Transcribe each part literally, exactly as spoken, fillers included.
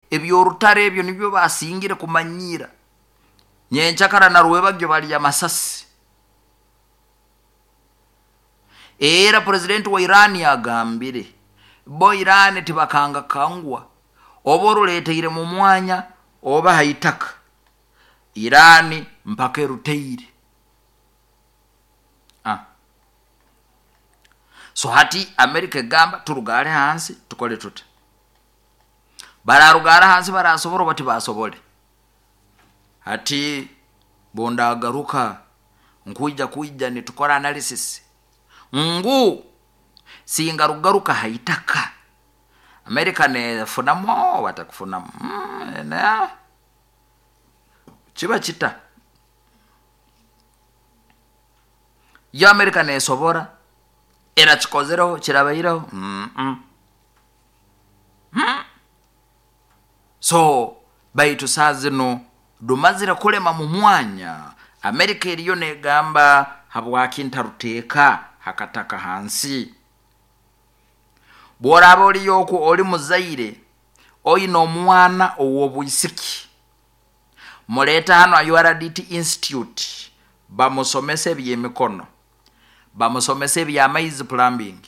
Ebyorutare ebyo nibyo basingire kumanyira. Nyenchakara na rwebagyo bali amasasi. Era president wa Iran yagambire bo Iran tibakanga kangwa oba oruleteire mu mwanya oba haitaka Iran mpaka eruteire. Ah. So hati America egamba turugare hansi tukole tuta. Bararugara hansi barasobora oba tibasobole. Hati bondagaruka nkuija kuija nitukora analysis ngu singa rugaruka haitaka America nefunamu batakufunamu mm, na kiba kita yo America nesobora era kikozereho kirabaireho mm -mm. Mm. So baitu saa zino dumazire kulema mu mwanya America eriyo negamba habwaki ntaruteeka hakataka hansi. Bworaba oliyo oku oli muzaire oyina omwana ow'obwisiki muleeta hano a U R D T Institute bamusomese ebyemikono, bamusomese ebyamaizi plumbing,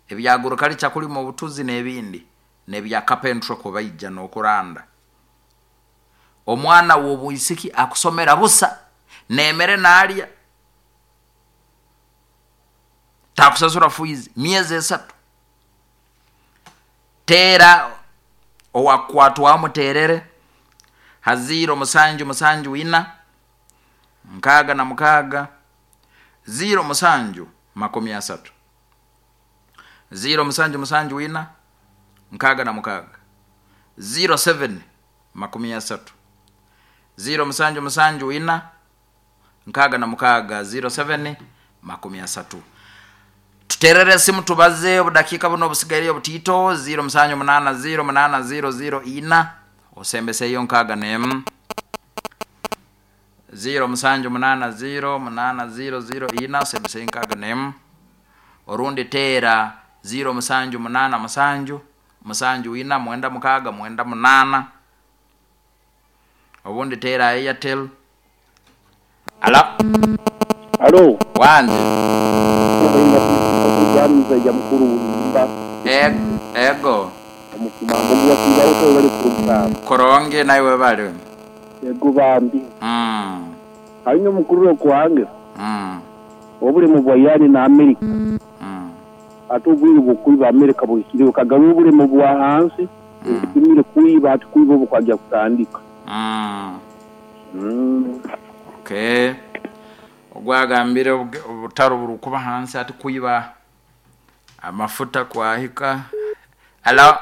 ebya agriculture kulima obutuzi n'ebindi, n'ebya carpentry kubaija n'okuranda. Omwana w'obwisiki akusomera busa nemere nalya takusasura fees miezi esatu. Tera owakwatwa muterere haziro musanju musanju ina nkaga na mukaga ziro musanju makumi asatu ziro musanju musanju ina nkaga na mukaga ziro seven makumi asatu ziro musanju musanju ina nkaga na mukaga ziro seven makumi asatu. Tuterere simu tubaze obudakika buno obusigaire obutito ziro musanju munana ziro munana ziro ziro ina osembeseyo nkaga nemu ziro musanju munana ziro munana ziro ziro ina osembeseyo nkaga nemu orundi tera ziro musanju munana musanju musanju ina mwenda mukaga mwenda munana obundi tera Airtel. Alo. Alo. Wanje. Ya mukuru mba. E, ego. Omukumambo bwa bali kurugamba. Koronge nawe bali. Ego bambi. Mm. Hanyuma mukuru kwange. Mm. Obule mu bwayani na America. Mm. Atubwire bukuiba America buhikire kagabu obule mu bwa hansi. Mm. Kimire kuiba atukuiba obukwajya kutandika. Mm. Mm. Okay. Ogwagambire obutaro burukuba hansi ati kuiba amafuta kwahika. Alo.